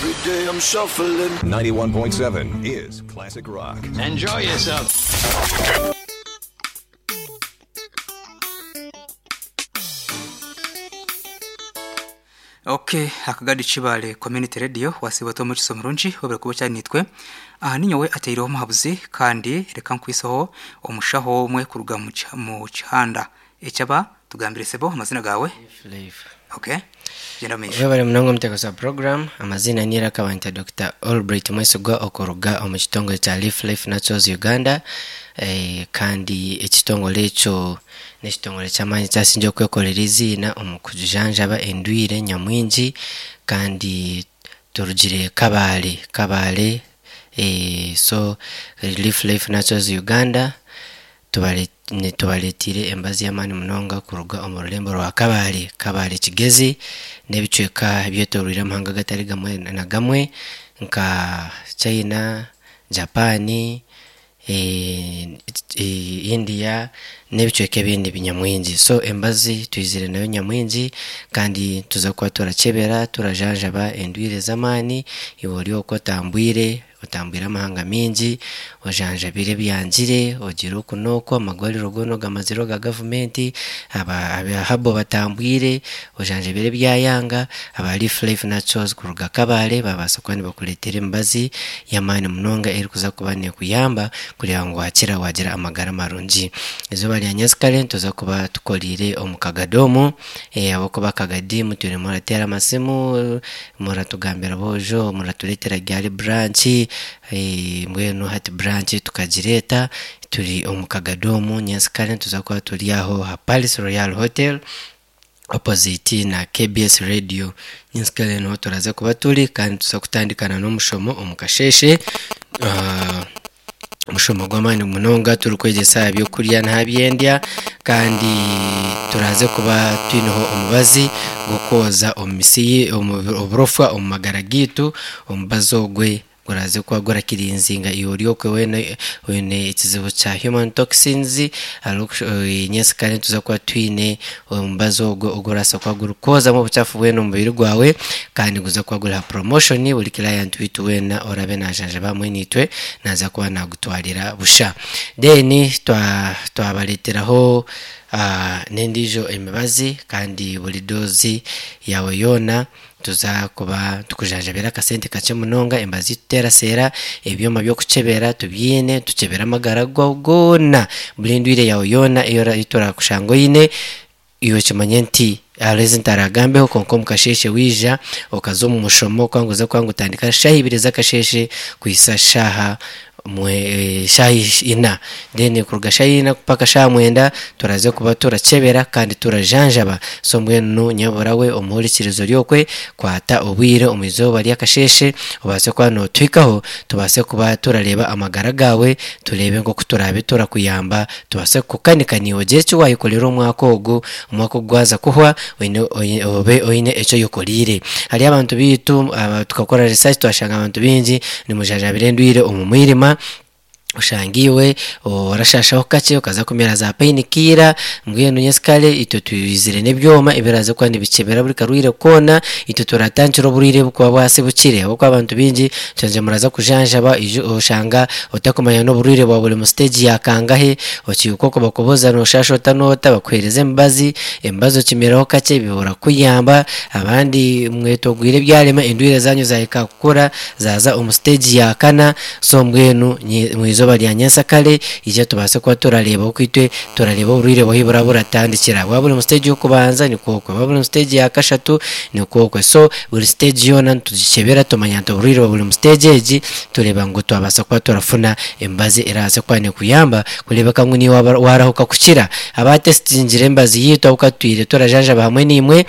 Every day I'm shuffling. 91.7 is Classic Rock. Enjoy yourself. Ok akagadi Kibale Community Radio wasiiba ota omukisa omurungi webare kuba okyari naitwe. Aha ninyowe ateireho omuhabuzi kandi reka nkwiseho omushaho omwe kuruga mu kihanda ekyaba tugambire sebo amazina gaawe. Life. Ok gyenda omumaisho. Webare munonga omuteekateesi wa puroguramu. Amaziina ni Iraka banyeta Dokita Albright Mwesigwa okuruga omu kitongore kya Leaf Life Naturals Uganda kandi ekitongore ekyo n'ekitongore ky'amaani ekyasingire okwekorera eiziina omu kujanjaba endwaire nyamwingi kandi turugire Kabale, Kabale so Leaf Life Naturals Uganda Tubareeteire embazi y'amaani munonga kuruga omu rurembo rwa Kabale, Kabale Kigezi n'ebicweka ebyetooroire amahanga gatari gamwe na gamwe nka China, Japan, India n'ebicweka ebindi nyamwingi. So embazi twizire nayo nyamwingi kandi nituza kuba turakyebera turajanjaba endwire z'amaani iwe ori okwo otambwire. Otambwire amahanga maingi, ojanjabire ebyangire, ogire oku n'oku, amarwariro goona ogamazire oga gavumenti, aba habo batambwire, ojanjabire ebyayanga, aba Leaf Life Naturals kuruga Kabale baabaasa kuba nibakureetera emibazi y'amaani munonga erikuza kuba neekuyamba kureeba ngu waakira waagira amagara marungi. Eizooba rya nyensikare nituza kuba tukoriire omu kagadi omu, ahabw'okuba akagadi mutwire murateera amasimu, Muratugambira boojo muratureetera ryari branch mbwenu hati branch tukagireeta turi omu Kagadi omu nyensikare nituza kuba turi aho aha Palace Royal Hotel opposite na KBS Radio nyensikare niho turaza kuba turi kandi nituza kutandikana n'omushomo omu kasheeshe. Omushomo gw'amaani munonga turikwegyesa aha by'okurya n'aha by'endya kandi turaaze kuba twineho omubazi gw'okwoza omu misi oburofa omu magara gaitu. Omubazi ogwe guraaze kuba gurakirinzinga iwe ori okwe weena oine ekizibu kya human toxins nyensikare nituza kuba twine omubazi ogwo ogurabaasa kuba gurikwozamu obukyafu bwena omu mubiri gwawe kandi guza kuba guri aha promotion buri client waitu weena oraabe najanjaba hamwe naitwe naaza kuba naagutwarira busha. Then twabareeteraho n'endiijo emibazi kandi buri dose yaawe yoona Tuza kuba tukujanjabire akasente kakye munonga, emibazi teraseera, ebyoma by'okukyebera tubyine, tukyebere amagara gaawe goona, buri ndwaire yaawe yoona ei turakushanga oine, iwe okimanye nti hariho ezi ntaragambeho kwonka omu kasheeshe waija okaza omu mushomo kwanga oze kwanga otandika shaaha ibiri z'akasheeshe kuhitsya shaaha shaaha ina then kuruga shaaha ina mpaka shaaha mwenda turaze kuba turakyebera kandi turajanjaba so mbwenu nyabura we omuhurikirizi ori okwe kwata obwire omu izooba ry'akasheeshe obaase kuba nootuhikaho tubaase kuba turareeba amagara gaawe tureebe nk'oku turaabe turakuyamba tubaase kukukanika naiwe ogire eki waayekorera omwaka ogu omwaka ogu gwaza kuhwa oine obe oine eki oyekoreire. Hariyo abantu baitu tukakora research twashanga abantu baingi nimujanjabira endwaire omu mwirima, oshanga iwe orashashaho kakye okaza kumira za pain killer, mbwenu nyensikare itwe twizire n'ebyoma ebiraaze kuba nibikyebera buri karwaire koona, itwe turatandikira oburwaire obukuba bwasibukire ahabw'okuba abantu baingi kyangye muraza kujanjaba oshanga otakumanya n'oburwaire bwawe buri mu stage ya kangahe, okiihuka okwo bakubuuza noshasha ota n'ota bakuheereza emibazi, emibazi okimiraho kakye bibura kukuyamba, abandi mwetogwire ebyarema endwaire zaanyu zaahika kukura zaaza omu stage ya kana, so mbwenu omu izooba rya nyensakare ija tubaase kuba turareeba oku itwe turareeba oburwaire bwahi buraba buratandikira. Bwaba buri omu stage y'okubanza nikwo okwe, bwaba buri omu stage ya kashatu nikwo okwe. So buri stage yoona nitugikyebera tumanya nti oburwaire bwaba buri omu stage egi, tureeba ngu twabaasa kuba turafuna emibazi erabaase kuba nekuyamba kureebeka ngu naiwe waarahuka kukira. Abaatesitingire emibazi yaitu ahabw'okuba tutwire turajanjaba hamwe naimwe,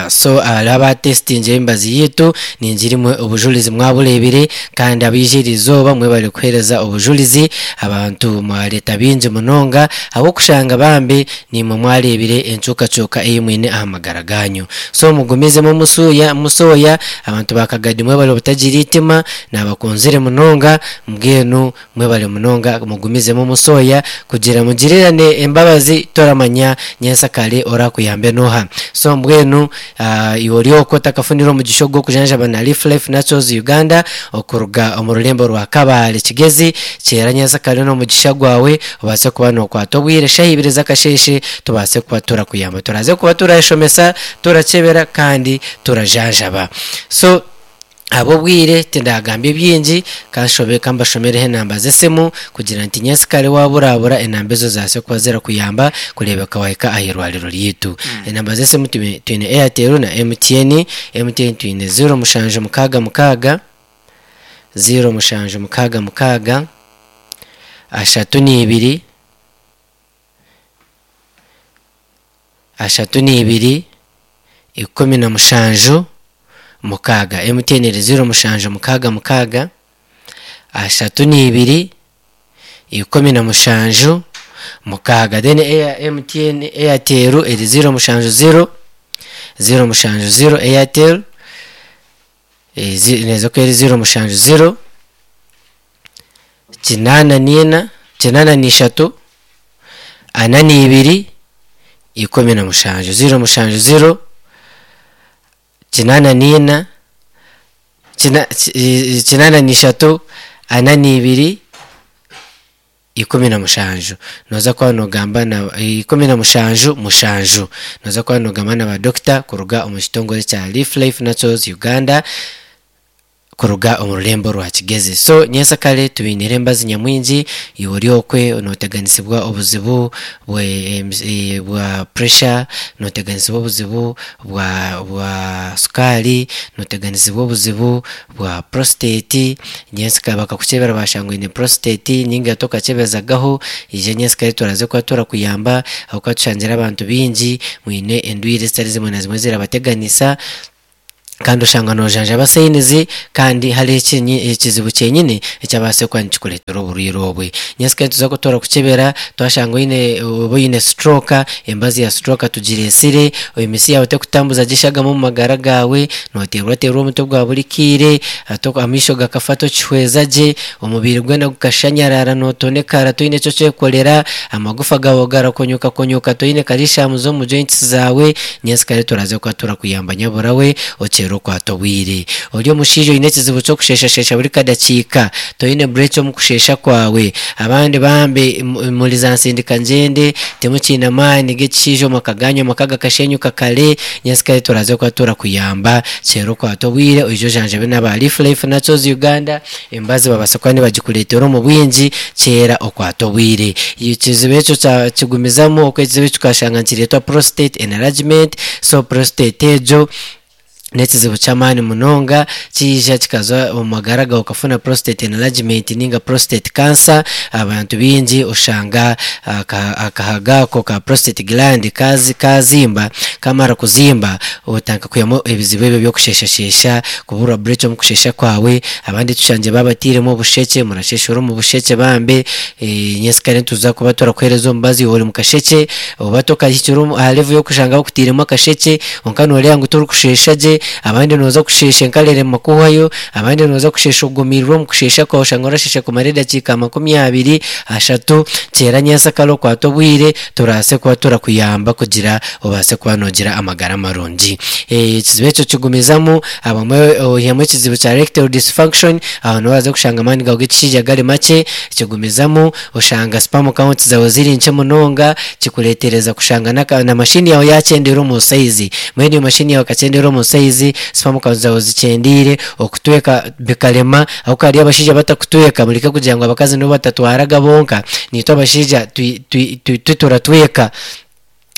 So hariho abaatesitingire emibazi yaitu, ningira imwe obujurizi mwabureebire kandi abaija eri izooba mwebare kuheereza obujurizi, abantu mwareeta baingi munonga ahabw'okushanga bambi naimwe mwareebire enkyukakyuka ei mwine aha magara gaanyu. So mugumizemu musuuya musooya, abantu ba Kagadi mwebare obutagira eitima, naabakunzire munonga, mbwenu Mwebare munonga mugumizemu musoya kugira mugirirane embabazi toramanya nyensakare orakuyambe noha so mbwenu. Mbwenu iwe ori okwo otakafunire omugisha ogu gw'okujanjaba na Leaf Life Naturals Uganda okuruga omu rurembo rwa Kabale Kigezi, kyera nyentsakare n'omugisha gwawe obaase kuba nookwata obwire shaaha ibiri z'akasheeshe tubaase kuba turakuyamba. Turaze kuba turashomesa, turakyebera kandi turajanjaba. So ahabw'obwire tindagambye bingi, kanshobe kambashomereho enamba z'esimu kugira nti nyensikare waburabura enamba ezo zibaase kuba zirakuyamba kureebeka wahika aha irwariro ryaitu. Enamba z'esimu twine Airtel na MTN, MTN twine ziro mushanju mukaaga mukaaga, ziro mushanju mukaaga mukaaga, ashatu n'ibiri, 32 17 6. MTN eri 0 7 6 6 2 17 6. Then eya MTN Airtel eri 0 7 0 0 7 0 Airtel neeza kuba eri 0 7 0 8 4 83 42 17 0 7 0 8 4 83 42 17 Nooza kuba noogamba na 17 7 Nooza kuba noogamba na baadokita kuruga omu kitongore kya Leaf Life Naturals Uganda. Kuruga omu rurembo rwa Kigezi. So nyentsakare tubainiire embazi nyamwingi, iwe ori okwe noteganisibwa obuzibu bwe bwa pressure, noteganisibwa obuzibu bwa bwa sukaari, noteganisibwa obuzibu bwa prostate, nyentsakare bakakukyebera bashanga oine prostate ninga tokakyebezagaho, ija nyentsakare turaza kuba turakuyamba ahabw'okuba tushangire abantu baingi mwine endwaire ezitari zimwe na zimwe zirabateganisa. Kandi oshanga noojanjaba sayinizi kandi hariho ekizibu kyenyine ekyabaasire kuba nikikureetera oburwaire obwe. Nyentsya nituza kutoora kukyebera twashanga oine oba oine stroke, embazi ya stroke tugireetsire, emitsi yaawe terikutambuza gye eshagama omu magara gaawe, nooteerwateerwa omutwe gwa buri kaire, amaisho gakafa tokihweza gye, omubiri gwena gukashanyarara nootonekara toine eki okyekorera, amagufa gaawe garakonyokakonyooka toine calcium z'omu joints zaawe, nyentsya turaza kuba turakuyamba nyabura we. Okyera okwata obwire. Ori omushaija oine ekizibu ky'okusheeshasheesha buri kadakiika, toine bureeki omu kusheesha kwawe. Abandi bambi muri za nsindika ngyende, timukiine amaani g'ekishaija omu maka gaanyu, amaka gakashenyuka kare. Nyensikare turaze kuba turakuyamba. Kyera okwate obwire oije ojanjabe n'aba Leaf Life Naturals Uganda, emibazi babaasa kuba nibagikureetera omu bwingi. Kyera okwate obwire. Ekizibu ekyo kyakigumizamu, oku ekizibu ekyo tukashanga nikireetwa prostate enlargement, so prostate egyo. N'ekizibu ky'amaani munonga kiija kikaza omu magara gaawe okafuna prostate enlargement ninga prostate cancer. Abantu baingi oshanga akahago ako ka prostate gland kaazimba, kamara kuzimba otandika kwihamu ebizibu ebyo by'okusheeshasheesha, kuburwa break omu kusheesha kwawe. Abandi tushangire baabatairemu obushekye, murasheeshera omu bushekye bambe. Nyensikare nituza kuba turakuheereza omubazi iwe ori mu kashekye oba tokahikire aha level y'okushanga bakutairemu akashekye kwonka nooreeba ngu torikushesha gye, abandi nooza kusheesha enkarere makuhwayo, abandi nooza kusheesha ogumiirwe omu kusheesha kwawe oshanga orasheesha kumara edakiika 20, ashatu, kyera nyentsakare okwate obwire turabaase kuba turakuyamba kugira obaase kuba noogira amagara marungi. Ekizibu ekyo kigumizamu, abamwe oihamu ekizibu kya erectile dysfunction, aho niho oraza kushanga amaani gaawe g'ekishaija gari makye, kigumizamu oshanga sperm count zaawe ziri nkye munonga, kikureetereza kushanga na mashini yaawe yaakyendeera omu sayizi. Mbwenu eyo mashini yaawe ekakyendeera omu sayizi, sperm count zaawe zikyendeire, okutweka bikarema, ahabw'okuba hariyo abashaija abatakutweka, mureke kugira ngu abakazi nibo batatwaraga bonka, naitwe abashaija turatweka.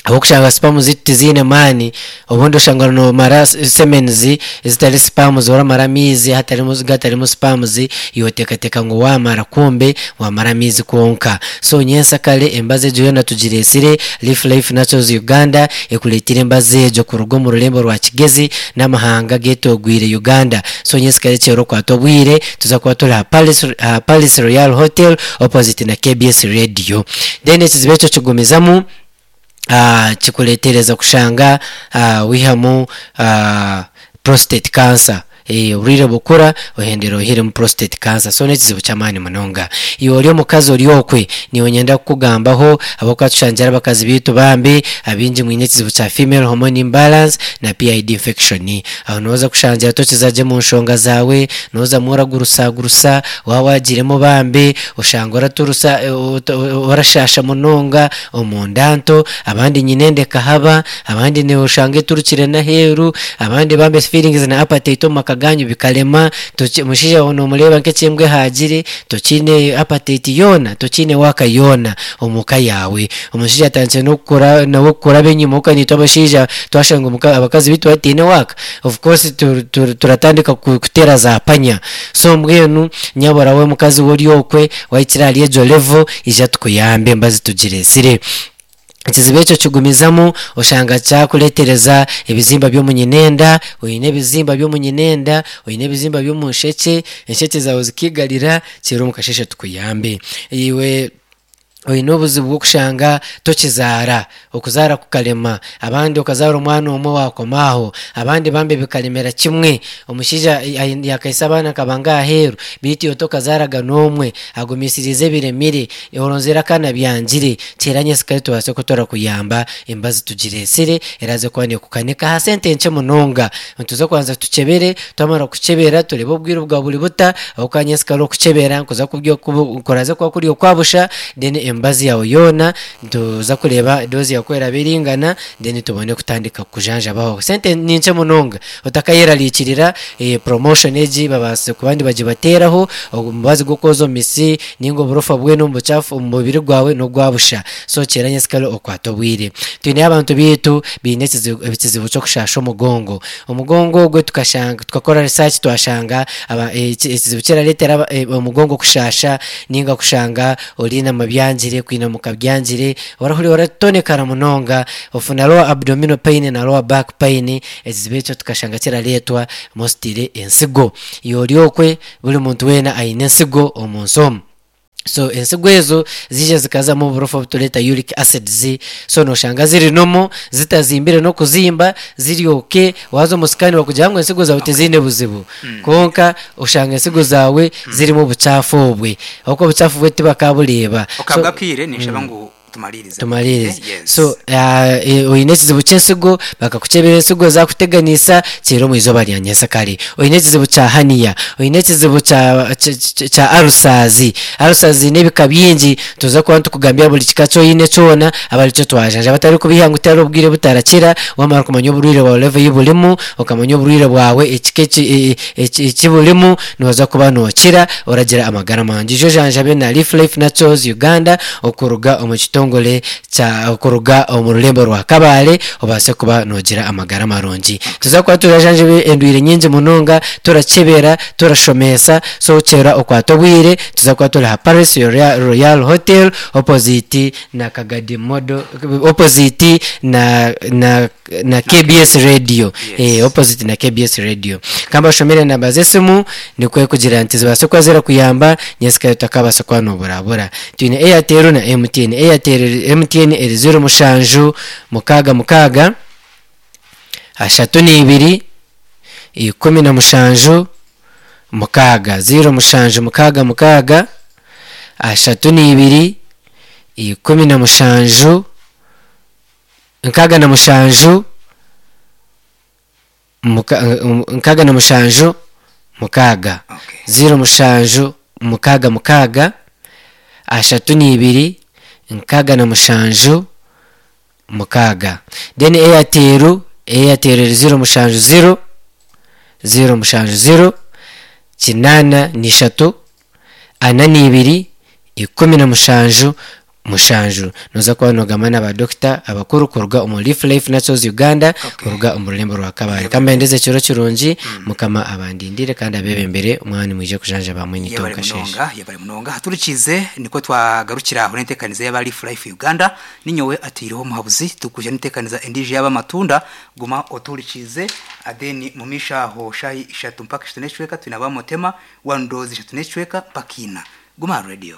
Ahabw'okushanga sperm zaitu tiziine maani, obundi oshanga noomara semens ezitari sperms oramara amaizi hatarimu gatarimu sperms, iwe oteekateeka ngu waamara kumbe waamara amaizi kwonka. So nyentsakare emibazi egyo yoona tugireetsire, Leaf Life Naturals Uganda ekureetire emibazi egyo kuruga omu rurembo rwa Kigezi n'amahanga ageetoogwire Uganda. So nyentsakare kyera okwate obwire, tuza kuba turi aha Palace aha Palace Royal Hotel opposite na KBS Radio. Then ekizibu ekyo kigumizamu. Kikureetereza kushanga waihamu prostate cancer. Oburwaire bukura ohendera oihiremu prostate cancer so n'ekizibu ky'amaani munonga. Iwe ori omukazi ori okwe nyowe nyenda kukugambaho ahabw'okuba tushangire abakazi baitu bambi abaingi mwine ekizibu kya female hormone imbalance na PID infection. Aho nooza kushangira tokiza gye mu nshonga zaawe, noozamu oragurusagurusa, waaba waagiiremu bambi oshanga oraturusa orashaasha munonga omunda nto, abandi nyine endekahaba, abandi noshanga eturukire n'aheeru, abandi bambi feelings na appetite omu maka gaanyu bikarema, omushaija waawe nomureeba nk'eky'embwa ehaagire, tokiine appetite yoona, tokiine work yoona omu ka yaawe. Omushaija atandikire n'okukora nawe kukuraba enyima ahabw'okuba naitwe abashaija twashanga omuka abakazi baitu bataine work, of course turatandika kuteera za panya. So mbwenu nyabura we mukazi we ori okwe wahikire ahari egyo level ija tukuyambe embazi tugireetsire. Ekizibu ekyo kigumizamu oshanga kyakureetereza ebizimba by'omu nyinenda, oine ebizimba by'omu nyinenda, oine ebizimba by'omu nshekye, enshekye zaawe zikiigarira, kiro omu kasheeshe tukuyambe. Iwe oine obuzibu bw'okushanga tokizaara, okuzaara kukarema, abandi okazaara omwana omwe waakoma aho, abandi bambi bikaremera kimwe, omushaija yaakaitsya abaana akaba nk'aheeru beitu iwe tokazaaraga n'omwe, agumisiriize ebiremire, oronzire akaana byangire, Teera nyentsya tubaase ku turakuyamba emibazi tugireetsire eraaze kuba neekukanika aha sente nkye munonga. Nituza kubanza tukyebere, twamara kukyebera tureebe obwire bwawe buri buta, ahabw'okuba nyentsya orikukyebera nikuza kuraaze kuba kuri okwa busha then emibazi yaawe yoona nituza kureeba dose yaawe ku eraabe eringana then tubone kutandika kukujanjabaho. Sente ni nkye munonga otakayerarikirira, promotion egi babaasize kuba nibagibateeraho, omubazi gw'okwoza omu mitsi, Ninga oburofa bwena omu bukyafu omu mubiri gwawe n'ogwa busha. So kyera nyensikare okwate obwire. Twineyo abantu baitu baine ekizibu ekizibu ky'okushaasha omugongo. Omugongo ogwe tukashanga tukakora research twashanga aba ekizibu kirareetera aba omugongo kushaasha ninga kushanga oriinama byangire kwinamuka byangire orahurira oratonekara munonga ofuna lower abdominal pain na lower back pain ekizibu ekyo tukashanga kirareetwa mostly ensigo. Iwe ori okwe Buri muntu weena aine ensigo omu nsi omu. So ensigo ezo ziija zikazamu oburofa obutureeta uric acids, so noshanga ziri normal, zitazimbire n'okuzimba, ziri okay, waaza omu scan bakugira ngu ensigo zaawe tiziine buzibu. Kwonka oshanga ensigo zaawe zirimu obucaafu obwe, ahabw'okuba obucaafu obwe tibakabureeba. So Okabwa akaire ninshaba ngu Tumariirize. Tumariirize. Yes. So oine ekizibu ky'ensigo, bakakukyebera ensigo zakuteganisa, kyeera omu izooba rya nyensyakare. Oine ekizibu kya hernia, oine ekizibu kya kya ulcers, ulcers ziine ebika bingi, nituza kuba nitukugambira buri kika eki oine kyona aba arikyo twajanjaba. Abatarikubiiha ngu tihariho obwire butarakira, wamara kumanya oburwaire bwawe level ei burimu, okamanya oburwaire bwawe ekika eki eki burimu, Nooza kuba nookira oragira amagara marungi. Ijo ojanjabe na Leaf Life Naturals Uganda okuruga omu kitongore kya okuruga omu rurembo rwa Kabale obaase kuba noogira amagara marungi. Nituza kuba turajanjaba endwaire nyingi munonga, turakyebera, turashomesa, so kyera okwate obwire, nituza kuba turi aha Paris Royal Hotel opposite na Kagadi Model opposite na na na KBS Radio eh, opposite na KBS Radio. Ka mbashomere enamba z'esimu nikwo kugira nti zibaase kuba zirakuyamba nyensikare otakabaasa kuba noburabura. Twine Airtel na MTN. Airtel MTN eri 07 mukaaga mukaaga 32 17 mukaaga 07 mukaaga mukaaga 32 17 67 67 6, 0 7 6 6 32 67 6. Then Airtel, Airtel eri 0 7 0 0 7 0 83 42 17 7. Noza kuba nogamba na ba dokita abakuru kuruga omu Leaf Life Naturals Uganda kuruga omu rurembo rwa Kabale. Kambendeze ekiro kirungi, Mukama abandindire kandi abebembere mwaba nimwija kujanjaba hamwe naitwe omu Yebare kasheeshe. munonga, yebare munonga. Haturikiize nikwo twagarukira aho n'enteekaniza y'aba Leaf Life Uganda. Ninyowe ataireho omuhabuzi tukwija n'enteekaniza endiijo y'ab'amatunda. Guma otuhurikiize then mumaisho aho shaaha ishatu mpaka ishatu n'ekicweka twine aba Mutema, One Dose ishatu n'ekicweka mpaka ina. Guma aha radio.